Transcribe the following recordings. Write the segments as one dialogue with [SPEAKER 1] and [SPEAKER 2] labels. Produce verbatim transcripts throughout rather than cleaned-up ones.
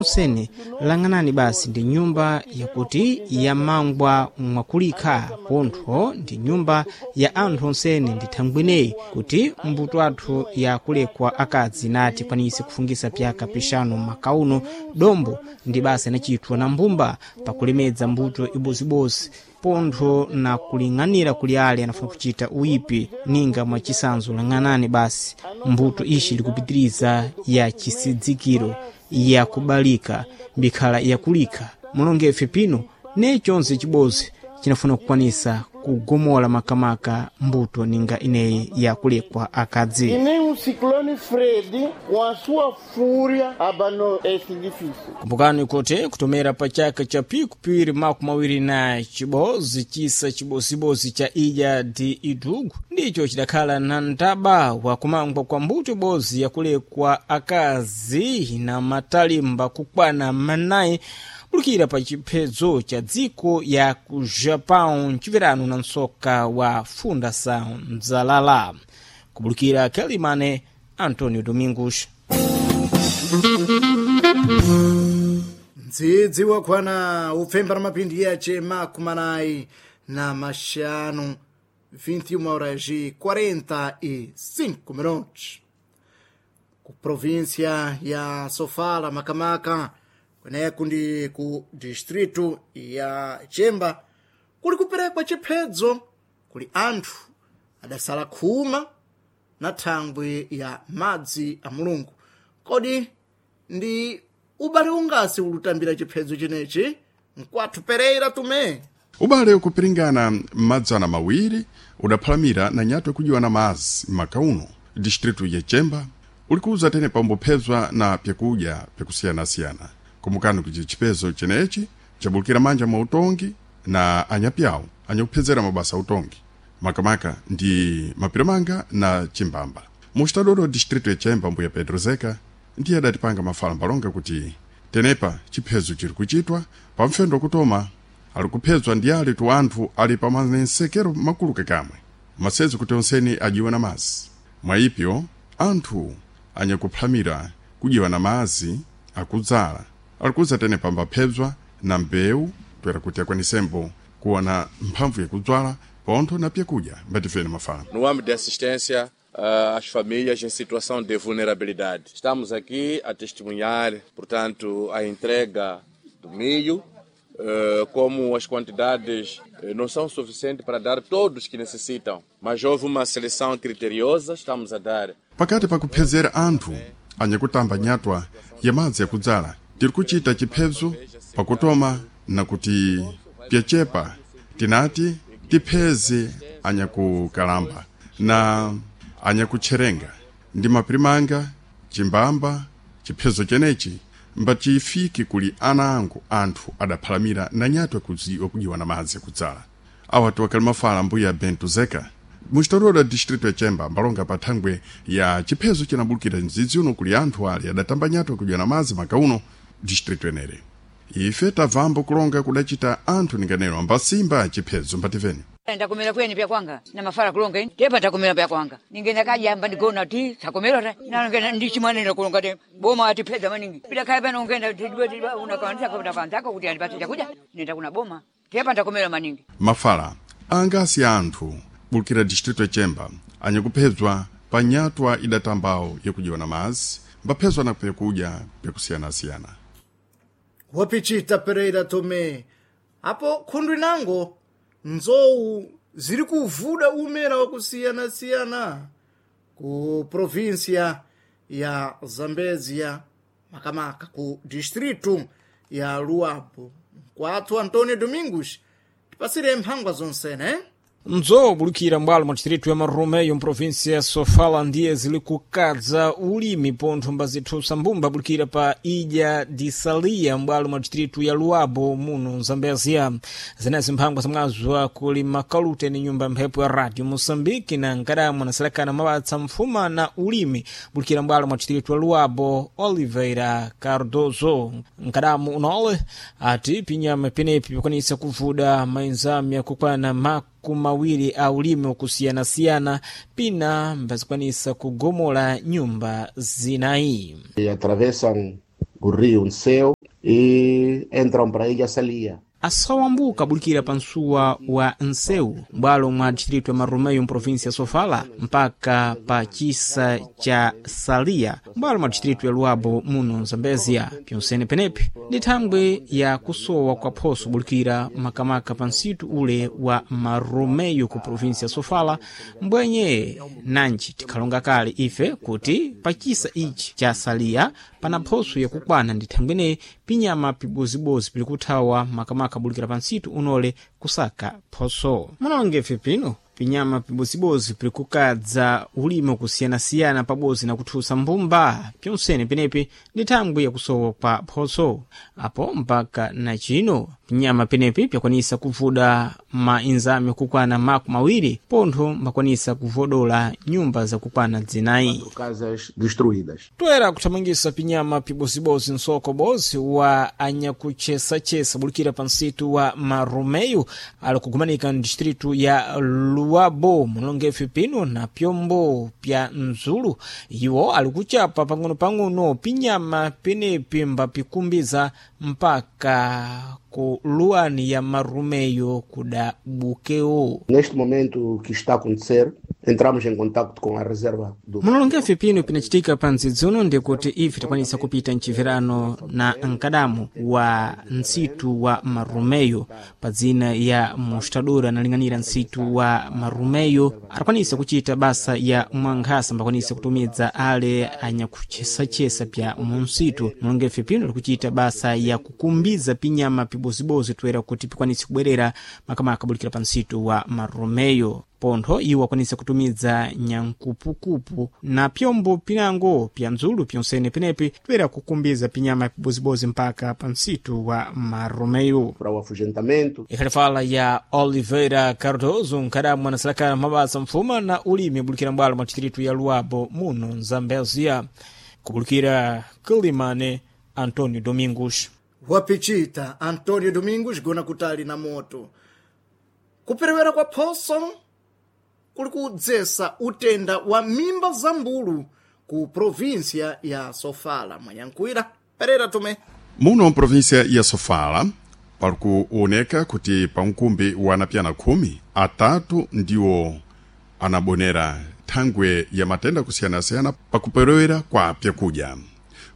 [SPEAKER 1] Onsene lang'anani basi ndi nyumba yakuti yamangwa mwakulikha pontho ndi nyumba ya anthu onsene ndi thangweneyi kuti mbuto athu yakulekwa akadzi nati kwanise kufungisa pyaka pixanu makauno dombo ndi basa inachitwa na mbumba pakulemedza mbuto ibozibozi pontho na kuling'anira kuli ale anafuna kuchita uyipi ninga mwachisanzo lang'anani basi mbuto ishi likupitiriza ya chisidzikiro yakubalika mbikhala yakulika mulongefe pino ne chonse chibozi chinafuna kukwanisa kugomola makamaka mbuto ninga ineyi yakulekwa akadzi.
[SPEAKER 2] E nem o ciclone Fred, com a sua fúria, abanou esse edifício.
[SPEAKER 1] Kumbukani kuti kutomera pa chaka cha pikupiri makumi awiri na chibozi chisa chibozibozi cha ija di idugu ndicho chidakhala na mtaba wa kumangwa kwa mbuto ibozi yakulekwa akazi na matalimba kukwana manayi bulukira pa chiphedzo cha dziko ya ku Japão mchiverano na msoka wa Fundação Mzalala kubulukira Kelimane Antonio Domingos.
[SPEAKER 3] Ndzidzi wakwana upfemba na mapindi yace makumanayi na maxanu vinte e uma horas e quarenta e cinco minutos ku província ya Sofala, Makamaka kweneku ndi ku distrito ya Chemba kuli kuperekwa chiphedzo kuli anthu adasala khuma na thangwi ya madzi a Mulungu. Kodi ndi ubale ungasi ulutambira chiphedzo chenechi? Mkwathu Pereira Tume.
[SPEAKER 4] Ubale ukupiringana madzana mawiri udaphalamira na nyatwa kujiwa na mazi makauno distritu ya Chemba ulikuza tene pambophezwa na pyakudya pyakusiyanasiyana. Kumbukani kuti chipezo chenechi chabulukira manja mwa utongi na anyapyawo anyakuphezera mabasa autongi makamaka ndi mapiramanga na chimbamba mustadolo distritu ya Chemba. Mbuya Pedro Zeka ndiye adatipanga mafala mbalonga kuti tenepa chiphezo chiri kuchitwa pamfendo kutoma ali kuphezwa ndi ali tu anthu ali pamanensekero makulu kakamwe masezo kuti onseni ajiwe na mazi. Mwayipyo anthu anyakuphamira kujiwa na mazi akudzala alikuza tene pambaphezwa na mbewu toera kuti akwanisembo kuwa na mphamvu yakudzwala pontho na pyakudya mbatifene mafala.
[SPEAKER 5] No âmbito de assistência uh, às famílias em situação de vulnerabilidade, estamos aqui a testemunhar, portanto, a entrega do milho, uh, como as quantidades não são suficientes para dar todos que necessitam, mas houve uma seleção criteriosa, estamos a dar.
[SPEAKER 4] Pakati pakuphezera anthu anyakutamba nyatwa ya madzi yakudzala tiri kuchita chiphezo pakutoma na kuti pyachepa tinati tipheze anyakukalamba na anyakutcherenga ndi mapirimanga chimbamba. Chiphezo chenechi mbachifike kuli ana angu anthu adaphalamira na nyatwa kujiwa na madzi akudzala. Awa tiwakali mafala mbuya Bento Zeka muchitolola distritu ya Chemba mbalonga pa thangwe ya chiphezo chinabulukira mdzidzi uno kuli anthu ali adatamba nyatwa kujiwa na madzi makauno distritu enere. Ife tabvambo kulonga kudachita anthu ninganeno ambasimba chiphezo mbativeni.
[SPEAKER 6] Ndakumira kweni pya kwanga na mafala kulonga ini tepa ndakumira pya kwanga ningenda kajamba ndigona ti sakomera ta nangenda ndichimwanena kulonga te boma atipedza maningi bila kaya pano ungenda unakanza kwa kanza kuti andipatse chakudya nenda kuna boma tepa ndakumira maningi.
[SPEAKER 4] Mafala angasi anthu bulukira distritu ya Chemba anyakuphedzwa pa nyatwa idatambawo yakujiwa na mazi mbaphezwa na pyakudya pyakusiyanasiyana.
[SPEAKER 3] Wapichita Pereira Tome apo khundwi nango nzowu ziri kuvuda umera wakusiyana-siyana ku província ya Zambezia, Makamaka ku distrito ya Luabo. Mkwathu Antonio Domingos tipasire mphangwa zonsene, eh?
[SPEAKER 1] Nzowu bulukira mbwalo mwa distritu ya Marumeyo mprovinsia ya Sofala ndiye zili kukadza ulimi pontho mbazithusa mbumba bulukira pa Ilha de Salia mbwalo mwa distritu ya Luabo muno Mzambezia. Zenezi mphangwa zamwazwa kuli makalute ni nyumba mphepo ya Radio Moçambique na nkadamwe anaselekana mawatsa mfuma na ulimi bulukira mbwalo mwa distritu ya Luabo Oliveira Cardoso. Nkadamu unole ati pinyama penepi pakwanisa kuvuda mainzami yakukwana maku mawiri a ulimi wakusiyanasiyana pina mbazikwanisa kugomola nyumba zinayi.
[SPEAKER 7] E atravessam o rio Nseu. E entram para a Ilha Salia.
[SPEAKER 1] Asawambuka bulikira pa msuwa wa Nseu, m'bwalo mwa distrito ya Marrumeyo mprovinsia ya Sofala, mpaka pa chisa cha Salia, m'bwalo mwa distrito ya Luabo muno Zambezia. Pyonsene penepi ndi thangwi ya kusowa kwa phoso bulikira makamaka pa nsitu ule wa Marrumeyo ku provinsia ya Sofala, mbwenye nanji tikhalonga kale ife kuti pa chisa ichi cha Salia pana phoso yakukwana ndi thangwi pinyama pibozibozi pili kuthawa makamaka bulikira pa nsitu unole kusaka phoso. Munalongefe pino pinyama pibozibozi pili kukadza ulimi wakusiyanasiyana pabodzi na kuthusa mbumba pyonsene penepi ndi thangwi yakusowa kwa phoso. Apo mpaka na chino pinyama penepi pyakwanisa kuvuda mainzami kukwana maku mawiri, pontho mbakwanisa kuvodola nyumba zakukwana dzinayi.
[SPEAKER 7] Casas destruídas.
[SPEAKER 1] Toera kuthamangisa pinyama pibozibozi nsoko bozi wa anyakuchesachesa bulikira pa nsitu wa Marumeyo ali kugumanika mdistritu ya Luabo mulongefe pino na pyombo pya Nzulu. Iwo ali kuchapa pang'ono-pang'ono pinyama penepi mbapikumbiza mpaka ku luwani ya Marumeyo kuda bukeo.
[SPEAKER 7] Neste momento, o que está a acontecer, entramos em contacto com a reserva do
[SPEAKER 1] Mulongefe pino pinacitika pa ndzidzuno ndikuti ife tikwanisa kupita mchiverano na mkadamu wa ntsitu wa Marumeyo pa dzina ya Mostadora analing'anira ntsitu wa Marumeyo atakwanisa kuchita basa ya mwankhasa mbakwanisa kutumidza ale anyakuchesachesa pya munsitu. Mulongefe pino likuchita basa ya kukumbiza pinyama pibozibozi toera kuti pikwanise kubwerera makamaka bulikira pa nsitu wa Marumeyo. Pontho iwo akwanisa kutumidza nyankupukupu na pyombo pinango pya ndzulu pyonsene penepi toera kukumbiza pinyama pibozibozi mpaka pa nsitu wa Marumeyo.
[SPEAKER 7] Para o afugentamento.
[SPEAKER 1] Ikhalifala ya Oliveira Cardoso, nkhadamu anasalakana mabasa mfuma na ulimi bulikira mbwalo mwa distritu ya Luabo muno Nzambezia. Kubulikira Kilimane, Antonio Domingos.
[SPEAKER 3] Wapichita Antonio Domingos gona kutali na moto. Kuperewera kwa phoso kuli kudzesa utenda wa mimba za mbulu ku província ya Sofala. Mwanyankuira Pereira Tomé.
[SPEAKER 4] Muno mprovinsia ya Sofala pali kuoneka kuti pa mkumbi wa anapyana khumi atatu ndiwo anabonera thangwe ya matenda kusiyanasiyana pakuperewera kwa pyakudya.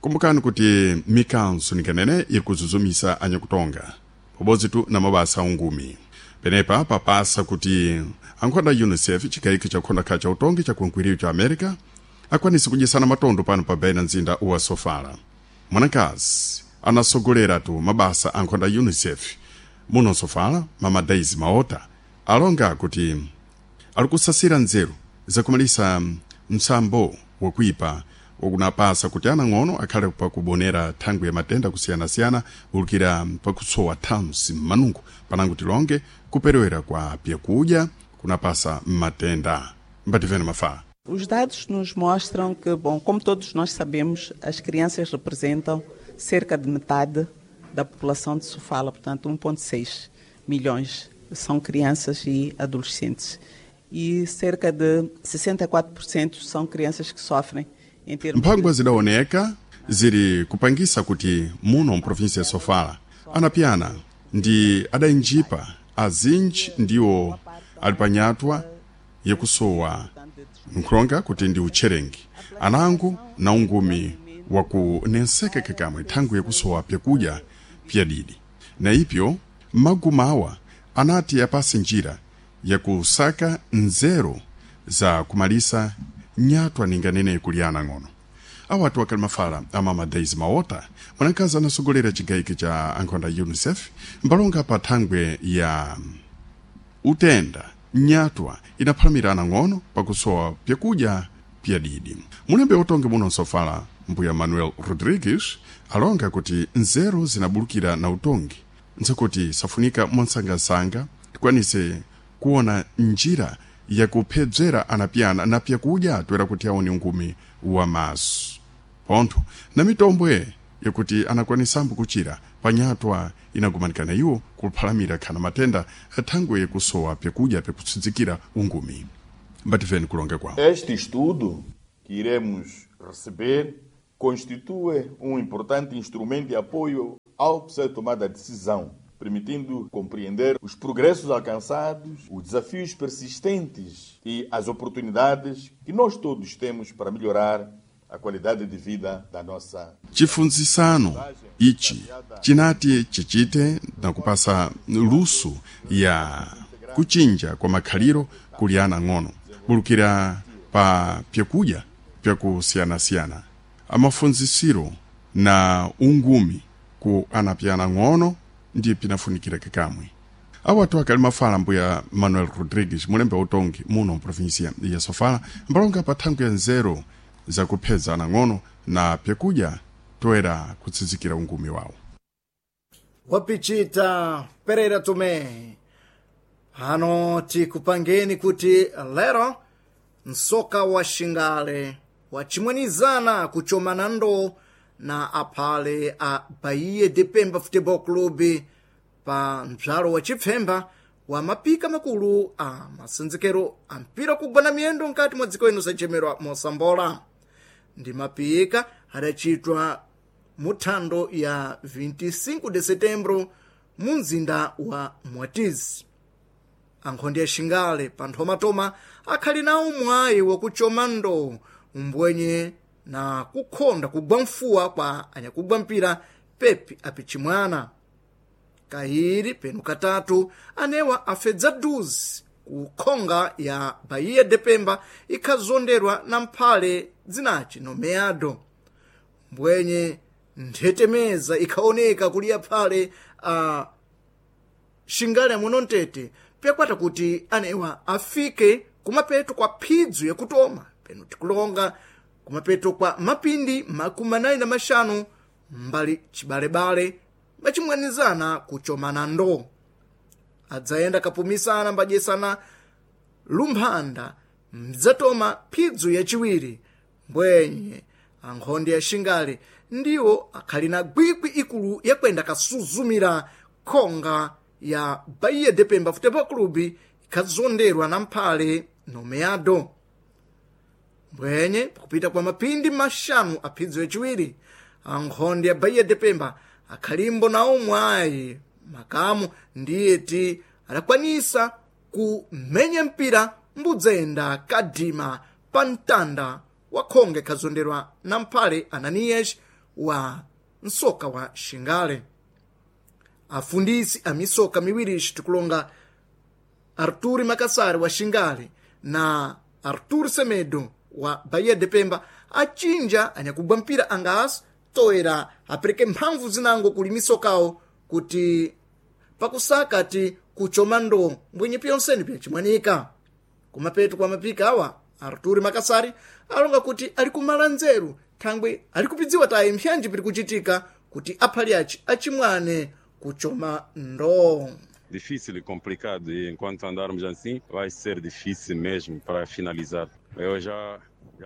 [SPEAKER 4] Kumbukani kuti mikanso nikanene iri kuzuzumisa anyakutonga pabodzi tu na mabasa aungumi. Penepa papasa kuti ankhonda UNICEF chikayiko chakhonda kha cha utongi cha kunkwiriyo cha America akwanise kudyesana matondo pano pa baina mzinda wa Sofala. Mwanakazi anasogolera tu mabasa ankhonda UNICEF muno Sofala, mama Daisy Maota, alonga kuti ali kusasira nzeru zakumalisa msambo wakuipa wakunapasa kuti anang'ono akhale pakubonera thangwi ya matenda kusiyanasiyana bulukira pakusowa thansi m'manungo panango tilonge kuperewera kwa pyakudya kunapasa matenda. Mbativene mafaa.
[SPEAKER 8] Os dados nos mostram que, bom, como todos nós sabemos, as crianças representam cerca de metade da população de Sofala, portanto um ponto seis milhões são crianças e adolescentes. E cerca de sessenta e quatro por cento são crianças que sofrem em termos
[SPEAKER 4] Mphangwa
[SPEAKER 8] de...
[SPEAKER 4] zidaoneka ziri kupangisa kuti muno mprovinsia ya Sofala anapyana ndi adainjipa azinji ndiwo ali panyatwa yakusowa nkhulonga kuti ndi utcherengi anango na ungumi wakunenseka kakamwe thangwi yakusowa pyakudya pyadidi. Na ipyo magumawa anati apase njira yakusaka nzeru za kumalisa nyatwa ninganene kuliana ng'ono. Awatu akali mafala amama Daisy Maota, mwanakazi anasogolera chigayiko cha ankhonda UNICEF mbalonga pa thangwe ya utenda nyatwa inaphalamira ng'ono pakusowa pyakudya pyadidi. Mulembe utonge muno Nsofala mbuya Manuel Rodrigues alonga kuti nzeru zinabulukira na utongi nzakuti safunika mwansangasanga tikwanise kuona njira yakuphedzera anapyana na pyakudya toera kuti aone ungumi wa maso pontho na mitombwe yakuti anakwanisambo kuchira panyatwa inagumanikana iwo kuphalamira khana matenda thangwe yakusowa pyakudya pyakutsidzikira ungumi. Mbativeni kulonga kwawo.
[SPEAKER 9] Este estudo que iremos receber constitui um importante instrumento de apoio ao ser tomada a decisão, permitindo compreender os progressos alcançados, os desafios persistentes e as oportunidades que nós todos temos para melhorar a qualidade de vida da nossa.
[SPEAKER 4] Chifunzisano ichi chinati chichite na kupasa luso ya kuchinja kwa makhaliro kuli ana ng'ono bulukira pa pyakudya pyakusiyanasiyana amafunzisiro na ungumi ku ana pyana ng'ono ndi pinafunikira kakamwe awo atu akali mafala mbuya Manuel Rodrigues mulembe utongi muno mprovinsia ya Sofala mbalonga pa thango ya nzeru zakupheza anang'ono na pyakudya toera kutsitsikira ungumi wawo.
[SPEAKER 3] Wapichita Pereira Tomé, hano tikupangeni kuti lero msoka wa Xingale wachimwanizana kuchomana ndo na aphale a Bahia de Pemba Futebol Clube pa mbzalo wa chipfemba wa mapika makulu a masenzekero a mpira kugwana miyendo nkati mwa dziko ino sachemerwa mosambola. Ndi mapika adachitwa muthando ya vinte e cinco de setembro mu mzinda wa Mwatizi. Ankhondi ya Xingale pa nthomatoma akhali nawo mwayi wakuchoma ndo mbwenye na kukhonda kugwa mfuwa kwa anyakugwa mpira Pepe apichimwana kahiri penu katatu anewa afedza duzi ku khonga ya Bahia de Pemba ikhazonderwa na mphale dzinaci nomeado. Mbwenye nthetemeza ikhaoneka kuliya phale a Xingale amuno mtete pyakwata kuti anewa afike kumapeto kwa phidzu yakutoma penu tikulonga kumapeto kwa mapindi makumi anayi na maxanu mbali cibalebale machimwanizana kuchomana ndo adzayenda kapumisana mbadyesana lumphanda mdzatoma phidzu yaciwiri. Mbwenye ankhondi ya Xingale ndiwo akhali na gwikwi ikulu yakwenda kasuzumira khonga ya Bahia de Pemba Futebol Clube ikhazonderwa na mphale nomeado. Mbwenye pakupita kwa mapindi maxanu a phidzu yaciwiri ankhondi ya Bahia de Pemba akhalimbo nawo mwayi makamu ndiye ti adakwanisa kumenya mpira mbudzayenda kadima pa mtanda wa khonge khazonderwa na mphale Ananias wa msoka wa Xingale. Afundisi a misoka miwiri tikulonga Arturi Makasari wa Xingale na Artur Semedo wa Bahia de Pemba achinja anyakugwa mpira angaso toera apereke mphamvu zinango kuli misokawo kuti pakusaka ti kuchoma ndo mbwenye pyonseni pyachimwanika. Kumapeto kwa mapika awa Arturi Makasari alonga kuti ali kumala nzeru thangwe ali kupidziwa tayi mpyanji piri kuchitika kuti aphali aci achimwane kuchoma ndo.
[SPEAKER 10] Difícil e complicado e enquanto andarmos assim vai ser difícil mesmo para finalizar. Eu já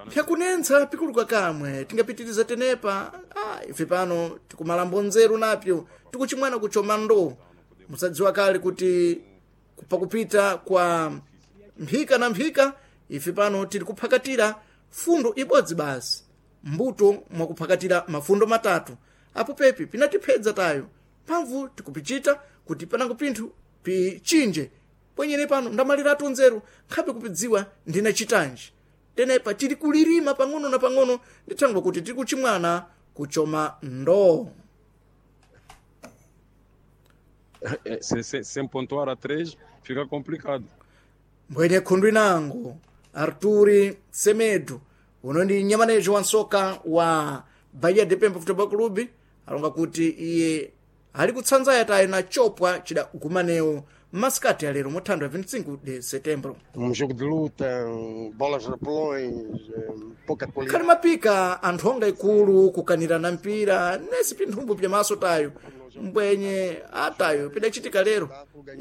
[SPEAKER 3] Pyakunentsa pikuluka kamwe tingapitiriza tenepa. Ah, ife pano tikumalambo nzeru napyo tikuchimwana kuchoma ndo. Musadziwa kale kuti pakupita kwa mphika na mphika ife pano tili kuphakatira fundo ibodzi basi mbuto mwakuphakatira mafundo matatu apo pepi pinatiphedza tayo mphamvu tikupichita kuti panango pinthu pichinje pwenyene pano ndamaliratu nzeru nkhabe kupidziwa ndinachitanji tenepa tili kulirima pang'ono na pang'ono ndithangwa kuti tili kuchimwana kuchoma ndo.
[SPEAKER 10] Sem, sem, sem pontuar a três fica complicado.
[SPEAKER 3] Mbwenye khundu inango Arturi Semedo uno ndi nyamanejo wa nsoka wa Bahia de Pemba Futebol Clube alonga kuti iye ali kutsanzaya tayi na chopwa chidagumanewo masikati alero muthandu ya vinte e cinco de setembro.
[SPEAKER 11] Um jogo de luta, bolas rapelões, pouca
[SPEAKER 3] Khali
[SPEAKER 11] qualidade.
[SPEAKER 3] mapika anthu onga ikulu kukanirana mpira nesi pinthumbu pyamaso tayo mbwenye atayo pidachitika lero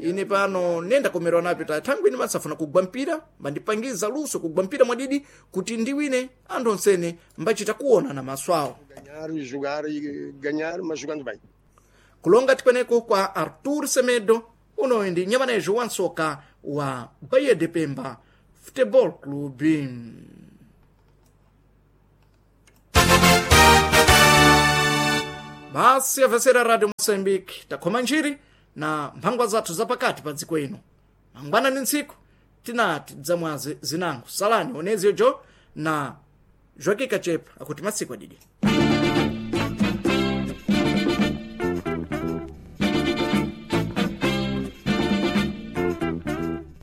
[SPEAKER 3] ine pano nendakomerwa napyo tayo thangwi ine masafuna kugwa mpira mbandipangiza luso kugwa mpira mwadidi kuti ndiwine anthu onsene mbachita kuona na maso awo.
[SPEAKER 11] Ganhar e jogar e ganhar, mas jogando bem.
[SPEAKER 3] Kulonga tikweneko kwa Artur Semedo unoyi ndi nyamanejo wa nsoka wa Bahia de Pemba Futebol Clube. Basi avesera Radio Moçambique takhoma njiri na mphangwa zathu zapakati pa dziko ino. Mangwana ni ntsiku tinati dzamwazi zinango. Salani onezio jo na Joaquim Kachepa akuti masiku adidi.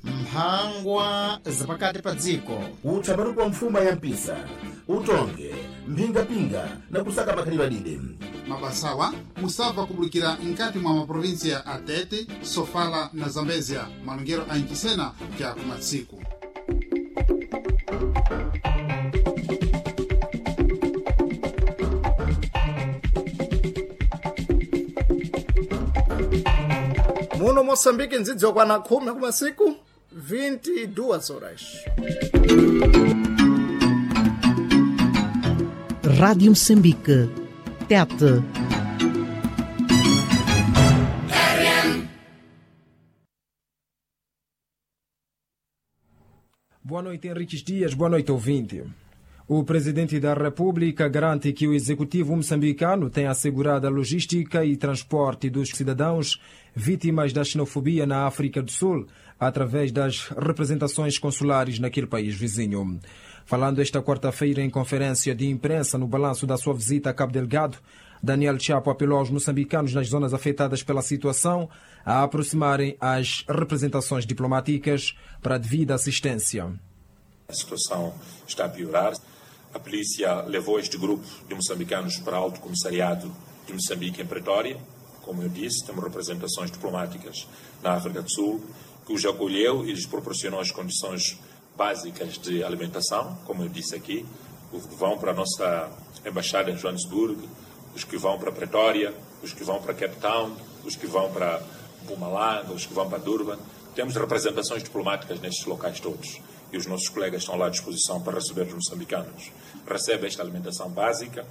[SPEAKER 12] Mphangwa zapakati pa dziko.
[SPEAKER 9] Utsaparupa mfuma ya mpisa, utonge mphingapinga na kusaka makhalidwe adide.
[SPEAKER 12] Mabasawa musabva kubulikira nkati mwa maprovinsia a Tete, Sofala na Zambezia, malongero a Ncisena kya kumatsiku.
[SPEAKER 3] Muno Moçambique ndzidzo kwana khumi kumasiku vinte e duas horas.
[SPEAKER 13] Rádio Moçambique. Tete.
[SPEAKER 14] Boa noite, Henriques Dias. Boa noite, ouvinte. O presidente da República garante que o executivo moçambicano tem assegurado a logística e transporte dos cidadãos vítimas da xenofobia na África do Sul através das representações consulares naquele país vizinho. Falando esta quarta-feira em conferência de imprensa no balanço da sua visita a Cabo Delgado, Daniel Chapo apelou aos moçambicanos nas zonas afetadas pela situação a aproximarem as representações diplomáticas para a devida assistência.
[SPEAKER 15] A situação está a piorar. A polícia levou este grupo de moçambicanos para o Alto Comissariado de Moçambique, em Pretória. Como eu disse, temos representações diplomáticas na África do Sul, que os acolheu e lhes proporcionou as condições básicas de alimentação, como eu disse aqui. Os que vão para a nossa embaixada em Joanesburgo, os que vão para Pretória, os que vão para Cape Town, os que vão para Mpumalanga, os que vão para Durban. Temos representações diplomáticas nestes locais todos e os nossos colegas estão lá à disposição para receber os moçambicanos. Recebe esta alimentação básica.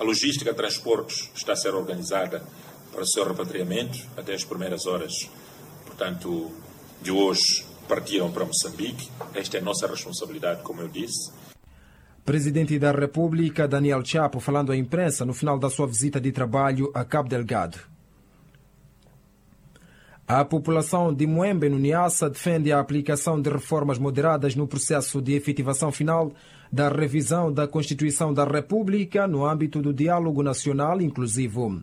[SPEAKER 15] A logística de transportes está a ser organizada para o seu repatriamento até as primeiras horas, portanto, de hoje partiram para Moçambique. Esta é a nossa responsabilidade, como eu disse.
[SPEAKER 14] Presidente da República, Daniel Chapo, falando à imprensa no final da sua visita de trabalho a Cabo Delgado. A população de Muembe, no Niassa, defende a aplicação de reformas moderadas no processo de efetivação final da revisão da Constituição da República no âmbito do diálogo nacional inclusivo.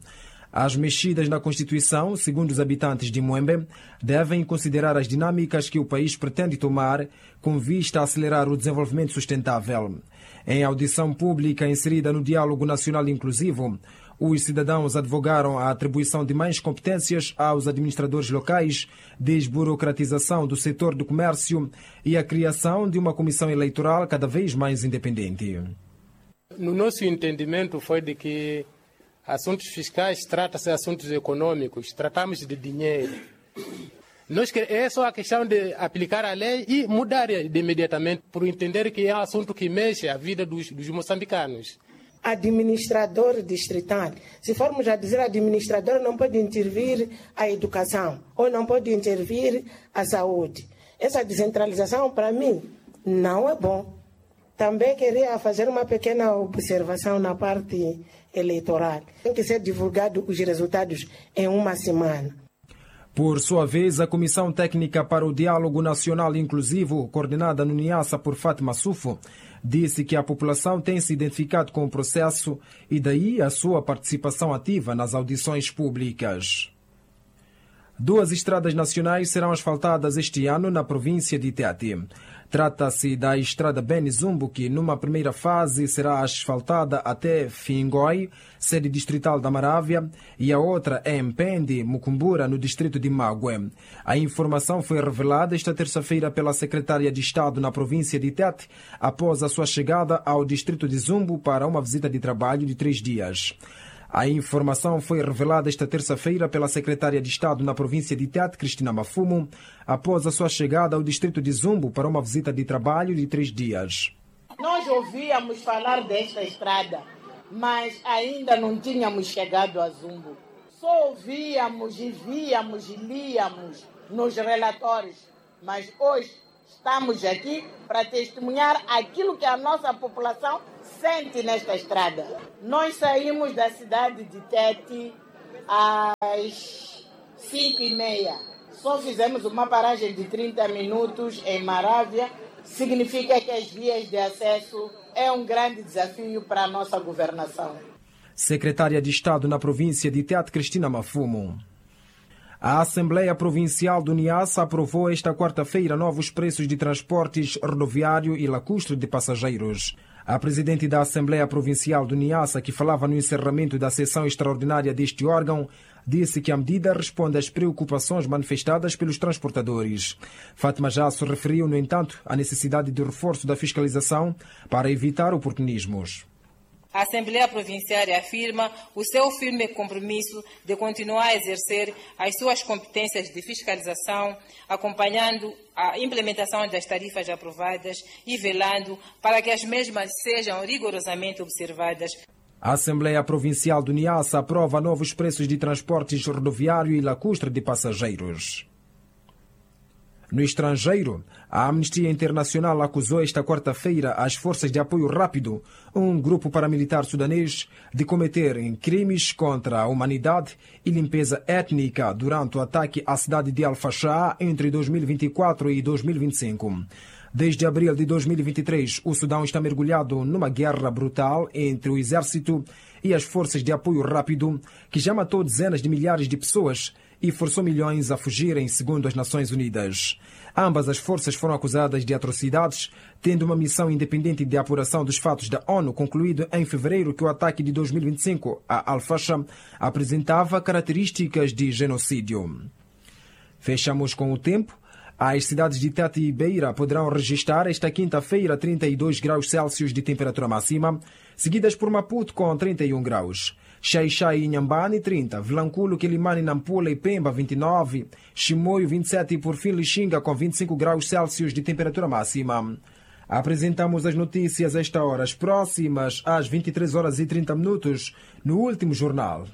[SPEAKER 14] As mexidas na Constituição, segundo os habitantes de Muembe, devem considerar as dinâmicas que o país pretende tomar com vista a acelerar o desenvolvimento sustentável. Em audição pública inserida no Diálogo Nacional Inclusivo, os cidadãos advogaram a atribuição de mais competências aos administradores locais, desburocratização do setor do comércio e a criação de uma comissão eleitoral cada vez mais independente.
[SPEAKER 16] No nosso entendimento foi de que assuntos fiscais trata-se de assuntos econômicos, tratamos de dinheiro. Nós é só a questão de aplicar a lei e mudar de imediatamente, por entender que é um assunto que mexe a vida dos, dos moçambicanos.
[SPEAKER 17] Administrador distrital. Se formos a dizer administrador, não pode intervir a educação ou não pode intervir a saúde. Essa descentralização, para mim, não é bom. Também queria fazer uma pequena observação na parte eleitoral. Tem que ser divulgado os resultados em uma semana.
[SPEAKER 14] Por sua vez, a Comissão Técnica para o Diálogo Nacional Inclusivo, coordenada no Niassa por Fátima Sufo, disse que a população tem se identificado com o processo e daí a sua participação ativa nas audições públicas. Duas estradas nacionais serão asfaltadas este ano na província de Tete. Trata-se da estrada Beni-Zumbo, que numa primeira fase será asfaltada até Fingoi, sede distrital da Marávia, e a outra é em Pende, Mucumbura, no distrito de Mague. A informação foi revelada esta terça-feira pela secretária de Estado na província de Tete, após a sua chegada ao distrito de Zumbo para uma visita de trabalho de três dias. A informação foi revelada esta terça-feira pela secretária de Estado na província de Tete, Cristina Mafumo, após a sua chegada ao distrito de Zumbo para uma visita de trabalho de três dias.
[SPEAKER 17] Nós ouvíamos falar desta estrada, mas ainda não tínhamos chegado a Zumbo. Só ouvíamos e víamos e líamos nos relatórios, mas hoje estamos aqui para testemunhar aquilo que a nossa população
[SPEAKER 18] sente nesta estrada. Nós saímos da cidade de Tete às cinco e meia. Só fizemos uma paragem de trinta minutos em Marávia. Significa que as vias de acesso é um grande desafio para a nossa governação.
[SPEAKER 14] Secretária de Estado na província de Tete, Cristina Mafumo. A Assembleia Provincial do Niassa aprovou esta quarta-feira novos preços de transportes rodoviário e lacustre de passageiros. A presidente da Assembleia Provincial do Niassa, que falava no encerramento da sessão extraordinária deste órgão, disse que a medida responde às preocupações manifestadas pelos transportadores. Fátima Jasso referiu, no entanto, a necessidade de reforço da fiscalização para evitar oportunismos.
[SPEAKER 19] A Assembleia Provincial afirma o seu firme compromisso de continuar a exercer as suas competências de fiscalização, acompanhando a implementação das tarifas aprovadas e velando para que as mesmas sejam rigorosamente observadas.
[SPEAKER 14] A Assembleia Provincial do Niassa aprova novos preços de transportes rodoviário e lacustre de passageiros. No estrangeiro, a Amnistia Internacional acusou esta quarta-feira as Forças de Apoio Rápido, um grupo paramilitar sudanês, de cometerem crimes contra a humanidade e limpeza étnica durante o ataque à cidade de Al-Fashá entre dois mil e vinte e quatro e dois mil e vinte e cinco. Desde abril de dois mil e vinte e três, o Sudão está mergulhado numa guerra brutal entre o exército e as Forças de Apoio Rápido, que já matou dezenas de milhares de pessoas e forçou milhões a fugirem, segundo as Nações Unidas. Ambas as forças foram acusadas de atrocidades, tendo uma missão independente de apuração dos fatos da ONU concluído em fevereiro que o ataque de dois mil e vinte e cinco a Al-Fasha apresentava características de genocídio. Fechamos com o tempo. As cidades de Tete e Beira poderão registrar esta quinta-feira trinta e dois graus Celsius de temperatura máxima, seguidas por Maputo com trinta e um graus. Xaixai e Inhambane trinta, Vilanculo, Quelimane, Nampula e Pemba vinte e nove, Chimoio vinte e sete e por fim Lixinga com vinte e cinco graus Celsius de temperatura máxima. Apresentamos as notícias a esta hora, as próximas às vinte e três horas e trinta minutos, no último jornal.